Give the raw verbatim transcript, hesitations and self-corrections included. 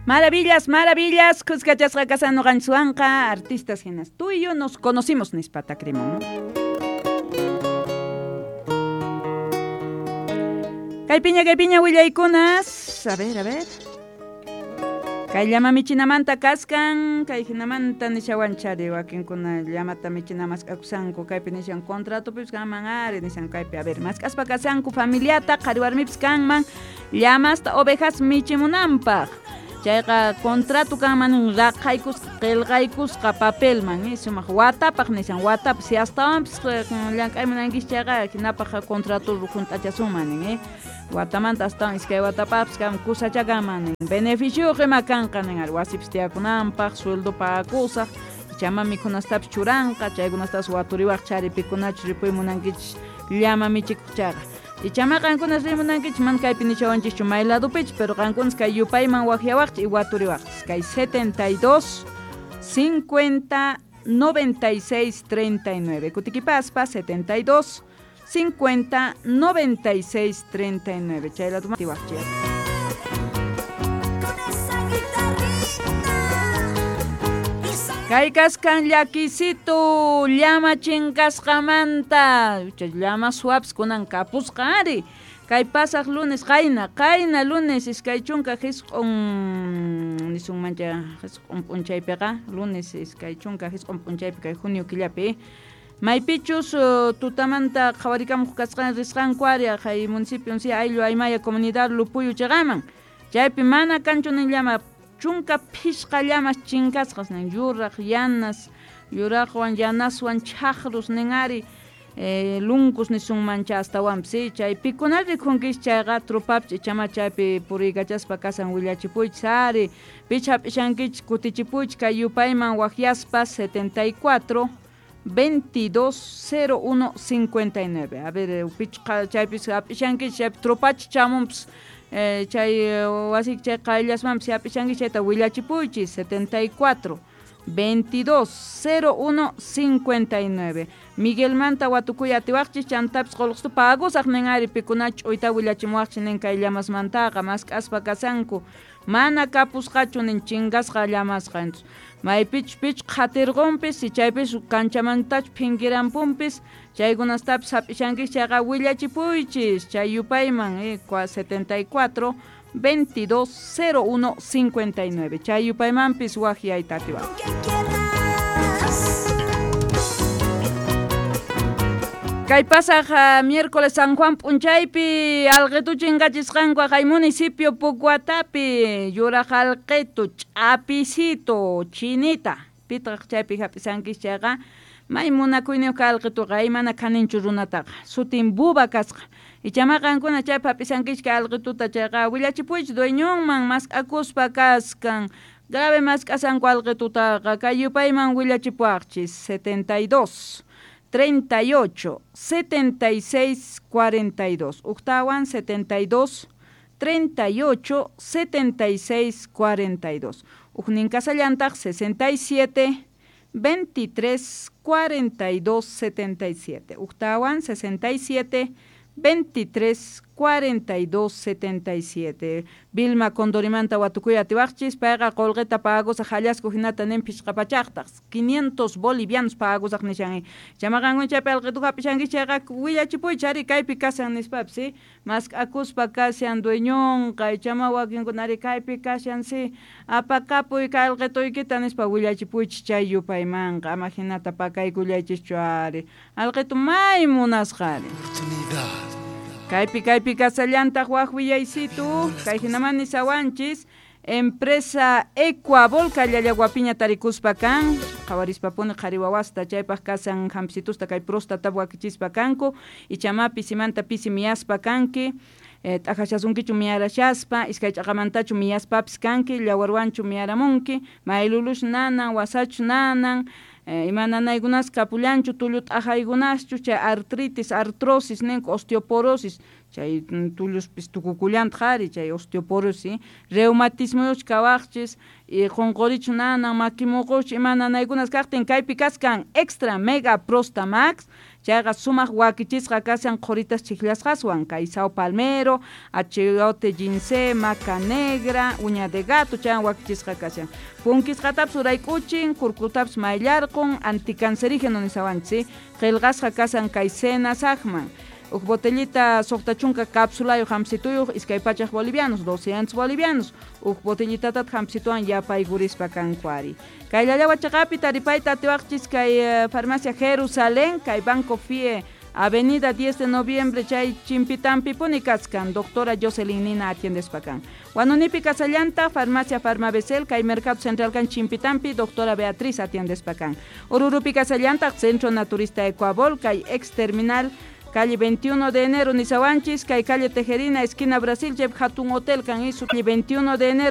Maravillas, maravillas, kuskachasqa kasan nuqanchikwanqa artistas hinas. Tú y yo nos conocimos nispa takrimun. Kaypiña, kaypiña willaykunas. A ver, a ver. Kay llama michinamanta kaskan, kay hinamanta nishawanchari wakinkuna llamata michina mask'akusanku, kaypi nishan contratopipis kanman ari nishan kaypi, a ver, mask'aspa kasanku familiata qhari warmipis kanman llamasta ovejas michimunanpaq. Chayqa contrato kanman raqaykusqa qillqaykusqa papelman, eh, sumaq watapaq nishan watapaq si astawanpis llank'aymunankichis chayqa hinapaq contrato hunt'achasunman nin, eh. Watamanta astawan iskay watapaqpis kan kusacha kanman nin. Beneficioyuq ima kanqa nin ari wasipis tiyakunanpaq sueldo pagakusaq ichama mikhunastapis churanqa chaykunastapas waturiwaq chari pikunachus ripuy munankichis llama michikuq chayqa. Ichama qankunas rimunankichis mana kaypi nishawanchischu may ladopichis pero qankunas kay yupayman waqyawaqchis y waturiwaqchis kay setenta y dos cincuenta noventa y seis treinta y nueve kutikipaspa setenta y dos cincuenta noventa y seis treinta y nueve chay lado tiwaqchis. Kay kaskan llakisitu llama chinkasqamanta chay llama suaps kunan kapusqa ari kay pasaq lunes qayna qayna lunes iskay chunka hisq'un nisunmancha hisq'un p'unchaypiqa lunes iskay chunka hisq'un p'unchaypi kay junio killapi maypichus tutamanta qhawarikamuq kasqan risqanku ari kay municipio si ayllu aymaya comunidad Lupuyu chayqaman chaypi mana kanchu nin llama chunka phishqa llamas chinkasqas nin yuraq yanas yuraqwan yanaswan chaqrus nin ari eh, lunkus nisunmancha astawanpis si chay pikuna rikunkis chayqa trupapis ichama chaypi puriykachaspa kasan willachipuychis ari picha hap'ishankichis kutichipuychis kay yupayman waqyaspa setenta y cuatro veintidós cero uno cincuenta y nueve. A ver, pichqa chaypis hap'ishankichis chaypi trupachi chamunpis eh, chay wasiki chay qayllasmanpis hap'ishankichis chayta willachipuychis setenta y cuatro veintidós cero uno cincuenta y nueve. Miguelmanta watukuy atiwaqchis chantapis qullqista pagusaq nin ari pikunachus ch'uyta willachimuwaqchis nin kay llamasmantaqa mask'aspa kasanku mana kapusqachu nin chingasqa llamasqa entonces maypichus pichus qhatirqunpis si chaypis kanchamantachus phinkirampunpis chaykunastapis hap'ishankichis chayqa willachipuychis chay yupayman eh, setenta y cuatro veintidós cero uno cincuenta y nueve chay yupaymanpis waqyayta atiwaqchis. Kay pasaq uh, miércoles San Juan p'unchaypi alqitu chinkachisqanku kay municipio Pucuatapi yuraq alqitu ch'apisito chinita pitaq chaypi hap'isankis chayqa may munakuyniyuq kay alqituqa ay mana kaninchu runataqa sutin buba kasqa ichama qankuna chaypi hap'isankis kay alqituta chayqa willachipuychis dueñonman mask'akuspa kaskan grave mask'asanku alqitutaqa kay yupayman willachipuwaqchis setenta y dos treinta y ocho, setenta y seis, cuarenta y dos. Uqtawan setenta y dos, treinta y ocho, setenta y seis, cuarenta y dos. Uqnin kasallantaq sesenta y siete, veintitrés, cuarenta y dos, setenta y siete. Uqtawan sesenta y siete, veintitrés, cuarenta y dos, setenta y siete. Vilma Condorimanta watukuy atiwaqchis payqa qullqita pagusaq hallasku hinata nin phishqa pachaqtaq quinientos bolivianos pagusaq nishan chamaqankuna chaypi alqitu hap'ishankichis chayqa willachipuychis ari kaypi kashan nispapis si mask'akuspa kashan dueñonqa ichama wakinkuna ari kaypi kashan si apakapuy kay alqituykita nispa willachipuychis chay yupaymanqa ama hinata pakaykullaychischu ari alqitu may munasqa ari. Kaypi kaypi kasallantaq waq willaysitu kay hinaman nisawanchis empresa Ecuabol Llallaguapiña tarikuspa kan qhawarispapuni qhari wawasta chaypaq kasan hampsitusta kay próstata wakichispa kanku ichama pisimanta pisi miyaspa kanki eh, t'aqashasunkichu miyarashaspa iskay ch'aqamantachu miyaspapis kanki llawarwanchu miyaramunki maylulush nanan wasachu nanan Eh, ima nanaykunas kapullanchu tullu t'aqaykunaschu chay artritis, artrosis ninku osteoporosis chay tulluspis tukukullantaq ari chay osteoporosis reumatismoyuch kawaqchis y qunqurichu nanan makimuquch ima nanaykunas kaqtin kaypi kaskan extra mega prostamax Chayqa sumaq wakichisqa kashan qhuritas chiklasqaswan kay sao palmero, achiote ginseng, maca negra, uña de gato chaywan wakichisqa kashan. Punkisqatapas urayk'uchin, kurkutapas mayllarqun, anticancerígeno nisawanchis, qillqasqa kashan kay senasaqman. Huk botellita suqta chunka cápsulayuq hampsituyuq iskay pachak bolivianos, doscientos bolivianos. Huk botellitatataq hampsituwan yapaykurispa kanku ari. Kay Llallagua chaqapi taripayta atiwaqchis kay farmacia Jerusalén, kay Banco F I E, Avenida diez de Noviembre, chay chimpitanpipuni kachkan, doctora Jocelyn Nina atiendespa kan. Huanunipi kasallanta, farmacia Farmabecel, kay Mercado Central kan chimpitampi, doctora Beatriz atiendespa kan. Oruropi kasallanta, Centro Naturista Ecuabol, kay ex terminal, calle veintiuno de enero, nisawanchis, kay calle Tejerina, esquina Brasil, chaypi hatun hotel kan isu, calle veintiuno de enero.